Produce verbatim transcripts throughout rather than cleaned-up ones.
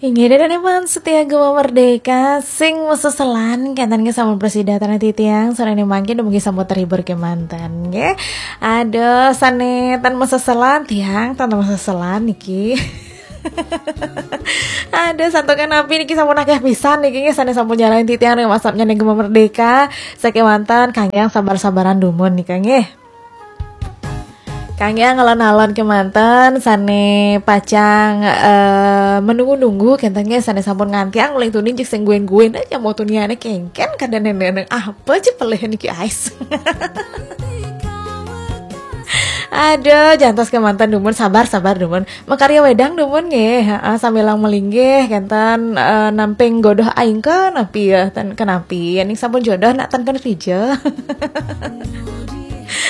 Inggih, dan emang setia Gema Merdeka sing meseselan kenten nggih sampun prasida titiang, sore ini mangkin dumugi sampun terhibur kemanten nggih. Ada sane tan meseselan tiang, tan meseselan niki. Ada santukan api niki sampun akeh pisan niki nggih, sane sampun nyalahin titiang ring WhatsApp-nya ning Gema Merdeka. Sakemanten kangge sabar-sabaran dumun nika nggih. Kangge alon-alon kemanten sane pacang eh, menunggu-nunggu kenten nggih, sane sampun ngantiang uling tuni jik sing guin-guin aja mau tuniane kengken kada neneng apa aja pelih niki ais. Ada jantos kemanten dumun, sabar-sabar dumun. Makarya wedang dumun nggih, heeh, sambilang melinggih kenten eh, namping godoh aing kenapi ya, ten kenapi. Ning sampun jodoh nak ten kena rija.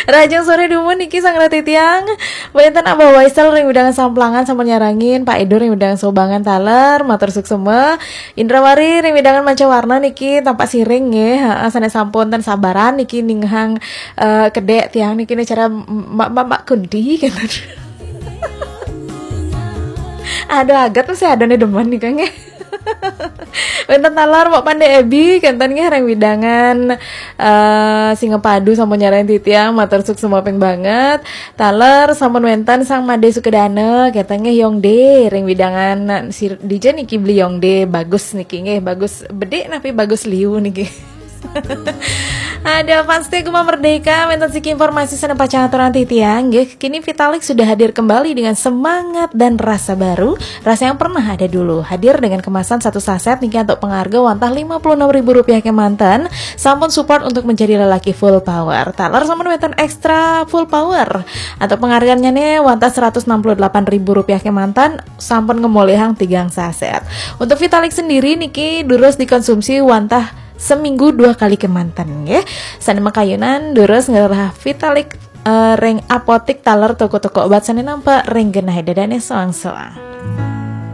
Rajang sore dumun niki sang rati tiang. Wenten Abah Waisel ring wewidangan Samplangan sampun nyarengin, Pak Edo ring wewidangan Sobangan taler, matur suksema. Indrawari ring wewidangan Mancawarna niki tampak siring nggih, heeh, sane sampun ten sabaran niki ninghang eh, kedek tiang niki ne cara mbak-mbak kunti gitu. Aduh, agat masih ada nih demen nih kang. Wenten taler Pak Pande Ebi kenten nggih ring wewidangan eh Singapadu sampun nyarengin titiang, matur suksema ping banget. Taler sampun wenten Sang Made Sukedana kenten nggih Yong De ring wewidangan si D J niki beli Yong De bagus niki nggih, bagus bedik napi bagus liu niki. Ada fans setia Gema Merdeka, wenten siki informasi sane pacang aturan titiang nggih. Kini Vitalik sudah hadir kembali dengan semangat dan rasa baru. Rasa yang pernah ada dulu, hadir dengan kemasan satu saset niki untuk pengarga wantah lima puluh enam ribu rupiah kemanten. Sampun support untuk menjadi lelaki full power. Taler sampun wenten extra full power. Untuk penghargaannya nih wantah seratus enam puluh delapan ribu rupiah kemanten, sampun ngemolihang tigang saset. Untuk Vitalik sendiri niki durus dikonsumsi wantah seminggu dua kali kemanten nggih. Sane makayunan durus ngerah Vitalik eh, ring apotik taler toko-toko obat sane nampak ring genah dadane soang-soang.